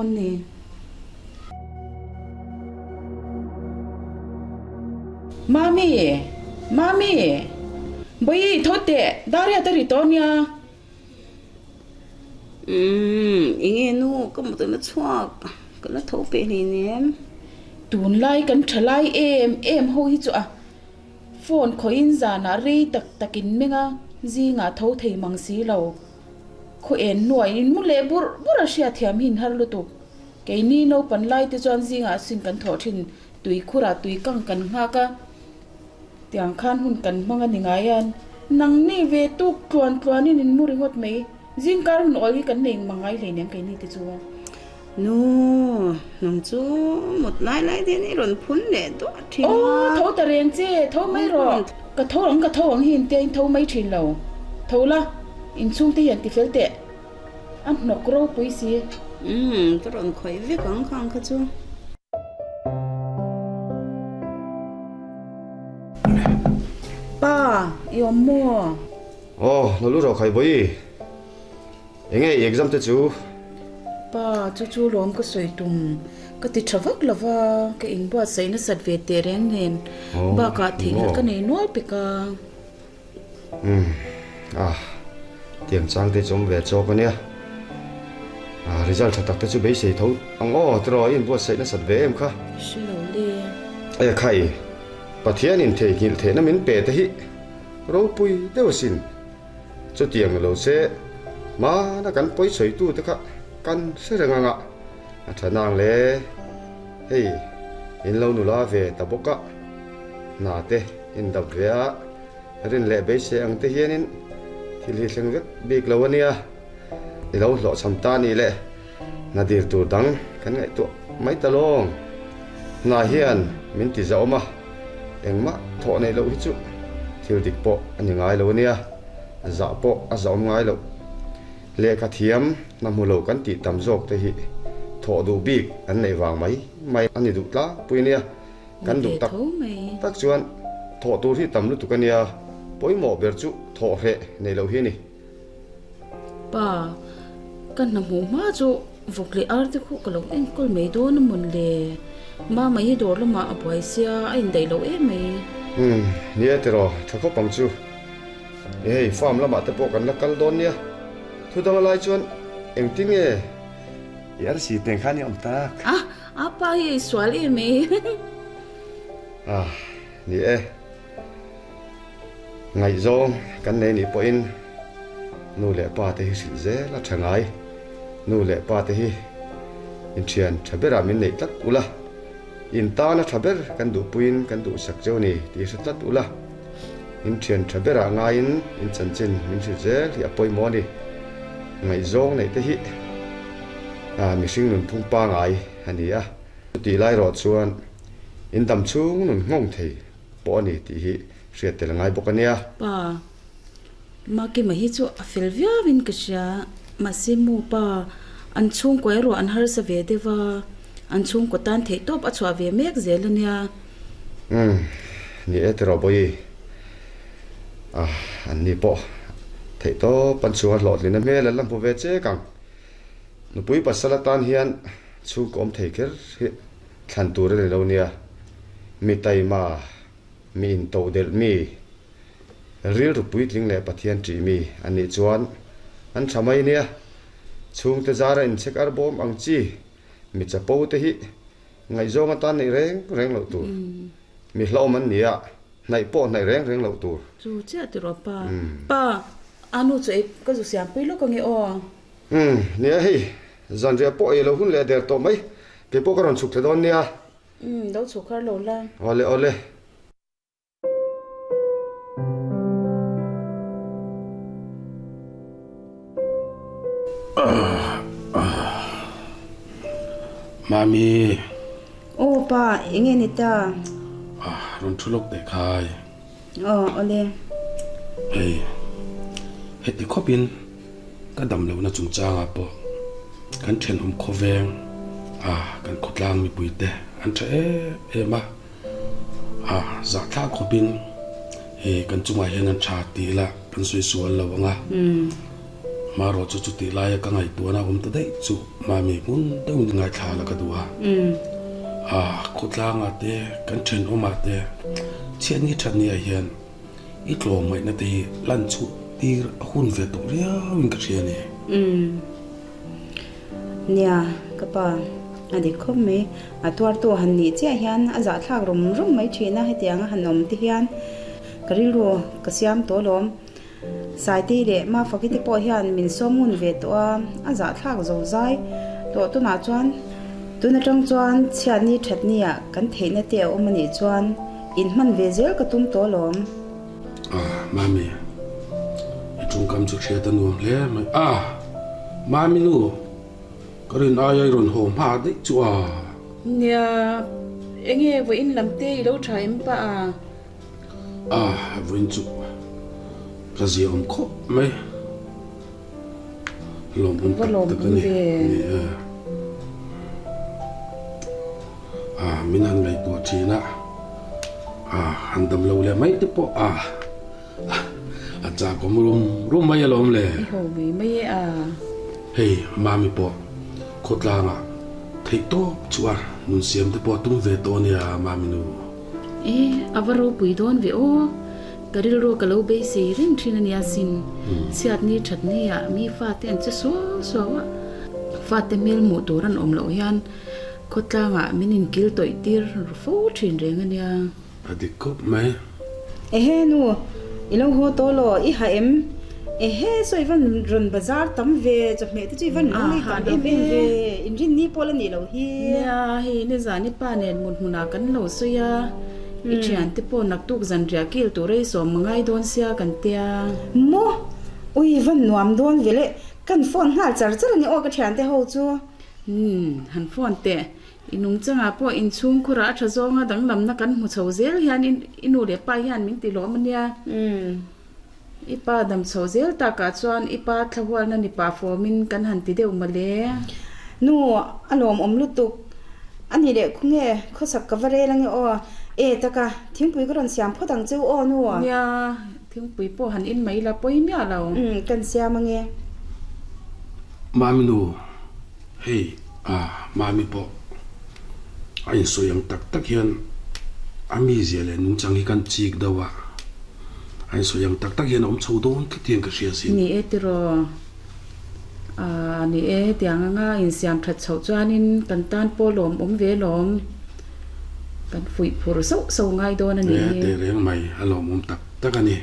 dawn ni. Mami! Mami! Bawihi tho teh, Daria te ri tawh nia. Umm, enge nu ka mutna chhuak ka la tho peh hleinem. Tunlai kan tha lai em em ho hi chu a phone khawhin zanah rei tak takin meng a, zingah tho thei mang si lo. Khaw en hnuai in mu leh burh burh a hriat thiam hi in har lutuk. Keini naupan lai te chuan zingah sin kan thawh thin, tui khurah tui kang kan nghak a, tiang khan hun kan hmang a ni ngai a, nangni ve tuk tluan tluanin in mu ringawt mai, zingkar hun awl hi kan nei mang ngai hleinem keini te chu. Nu, nang chu mut lai lai te hian i rawn phun leh duah thin a. Aw, tho ta reng che, tho mai rawh. Ka tho ang, ka tho ang hi intia in tho mai thin lo. Tho la, inchhung te hian ti fel teh. A hnawk ropui si. Umm, ka rawn khawih vek ang khang kha chu. Pa, i awm maw? Aw, lo lu rawh khai Bawihi. Enge i exam te chu? Pa, chu chu lawm ka sawi tum. Ka ti tha vak lo va, ka inbuatsaih nasat ve teh reng nen bakah theihnghilh ka nei nual pek a. Umm, ah, tiang chang te chu awm ve chawk a nia. Ah, result tha tak te chu beisei tho ang aw, tiraw i inbuatsaih nasat ve em kha? Hre lo le. E khai, Pathianin theihnghilh theihna min pe te hi ropui deuh asin. Chutiang lo se, hmana kan pawi sawitute kha kan hre reng ang a, a tha nang le. Hei, in lo nula ve ta bawk a, hna te in dap ve a, rin leh beisei ang te hianin thil hi thleng vek bik lo a nia. I lo hlawhchham ta ni le, hna dir tur dang kan ngaihtuah mai ta lawng. Hna hian min ti zahawm a, engmah thawh neih loh hi chu thil dik pawh a ni ngai lo a nia, zah pawh a zahawm ngai loh. Lehkha thiam hna hmu lo kan tih tam zawk te hi thawh duh bik an neih vang mai mai a ni duh tlangpui a nia. Kan duh tak tak chuan thawh tur hi tam lutuk a nia, pawimawh ber chu thawh hreh neih loh hi a ni. Pa, ka hna hmuh hma chu vawk leh ar te khuh ka lo enkawl mai dawn a mawn le. Mama hi dawr lamah a buai sia, a indaih loh em mai. Umm, nia tiraw, tha khawp ang chu. E hei, farm lamah te pawh kan la kal dawn nia. Thu dang a lai chuan engtin nge i arsi teng khan i awm tak? A, a pa hi a isual em mai. Ah, ni e. Ngaihzawng kan nei nih pawhin nu leh pa te hi hrilh zel a tha ngai. Nu leh pa te hi inthian tha berah min neih tlat ula, in tana tha ber kan duhpuiin kan duhsak cheu ni tih hre tlat ula, inthian tha berah ngaiin in chanchin min hrilh zel hi a pawimawh a ni. Ngaihzawng neih te hi mihring nunphung pangai a ni a, chutih lai erawh chuan in dam chhung nun nghawng thei. Pawh a ni tih hi hriat tel a ngai bawk a nia. Pa, Makima hi chu a fel viauin ka hria. Mahse mu pa, an chhungkaw erawh an harsa ve deuh a, an chhungkaw tan theih tawp a chhuah ve mek zel a nia. Umm, ni e tiraw Bawihi. Ah, an ni pawh theih tawp an chhunga hlawhtlin a hmel an la hmu ve chek ang. Nupui pasal atan hian chhungkaw awm thei kher hi Thlan tur a ni lo nia. Mi taima, mi intodelh mi, rilru puitling leh Pathian ṭih mi a nih chuan an ṭha mai nia. Chhungte zara inchhek ar bawm ang chi mi chapo te hi ngaihzawng atan neih reng reng loh tur. Mi hlauhawm an ni a, hnaih pawh hnaih reng reng loh tur. Chu chiah ti rawh pa. Pa, a nu chu ei ka zu siampui lawk ange aw. Umm, nia hei, Zanriah pawh ei lo hun leh der tawh mai. Kei pawh ka rawn chhuk thla dawn nia. Umm, lo chhuk har lo la. Awle, awle. Mami. Aw pa, eng nge ni ta? Ah, rawn thu lawk teh khai. Aw, awle. Hei, heti khawpin ka dam lohna chungchangah pawh kan thenawm khawveng a kan khawtlang mipuite an tha em em a, a zahthlak khawpin hei kan chungah hian an tha tih lah kan sawi sual lo ang a. Marawh chu chutih laia ka ngaihtuahna awm ta daih chu Mami hmun deuhin ngaithla la ka duh a. A, khawtlangah te, kan thenawmah te, chhiatni thatniah hian i tlawmngaihna te hi lan chhuh tir a hun ve tawh riauin ka hria a ni. Nia, ka pa, a dik khawp mai. A tuartu han nih chiah hian a zahthlak rum rum mai thin a, hetianga han awm te hian ka rilru ka siam tawh alawm. Saitei leh Mafaki te pawh hian min sawm ngun ve tawh a, a zahthlak zo zai tawh tunah chuan tun atang chuan chhiatni thatni ah kan theihna te a awm anih chuan in hman ve zel ka tum tawh alawm. Ah, Mami, i tawngkam chu hriat a nuam hle mai. Ah, Mami nu, ka rin aia i rawn haw hma daih chu a. Nia, enge vawiin lam te i lo tha em pah a? A vawiin chu ka zia awm khawp mai. Lawmawm tak tak a ni. Ni e. A min han ngaihtuah thin a, a han dam lo leh mai te pawh a a chakawm rum rum mai alawm le. I ho mai mai e a. Hei Mami pawh khawtlangah theih tawp chu a nun siam te pawh a tum ve tawh a nia Mami nu. E, a va ropui dawn ve aw. Ka rilru ka lo beisei reng thin a nia sin. Chhiatni thatni ah mi fate an che suau suau a. Fate hmel hmuh tur an awm loh hian khawtlang ah min inkil tawih tir ru fo thin reng a nia. A dik khawp mai. Ehe nu, i lo haw tawh law, i ha em? Ehe, saw i van rawn bazar tam ve, chawhmeh te chu i van lo lei tam em em ve, inrinni pawh la nih loh hi. Nia, hei nizan i pa nen mut hmunah kan lo sawi a, i thiante pawh naktuk zanriah kil tur ei sawm a ngai dawn sia kan tia. Maw? Ui, i van nuam dawn ve le, kan phone nghal char char a ni aw ka thiante ho chu. Umm, han phone teh, I nungchangah pawh inchhungkhurah a tha zawnga danglamna kan hmu chho zel hian i nu leh pa hian min ti lawm a nia. I pa dam chho zel takah chuan i pa thlahualna ni pah fawmin kan han ti deuh mawle. Nu, a lawmawm lutuk. A nih leh khawnge khawsak ka va rel ange aw. E taka, thingpui ka rawn siam phawt ang cheu aw nu. Nia, thingpui pawh han in mai la pawi miah lo. Umm, kan siam ange. Mami nu. Hei a Mami pawh a insawi ang tak tak hian a mizia leh nungchang hi kan chik deuh a, a insawi ang tak tak hian a awm chho dawn tlat hian ka hria sin. Ni e tiraw? Aaa ni e, tiang anga insiam that chhoh chuanin kan tan pawh lawm awm ve lawm. Kan fuih phur sauh sauh ngai dawn a nih hi. E tehreng mai, a lawmawm tak tak a ni.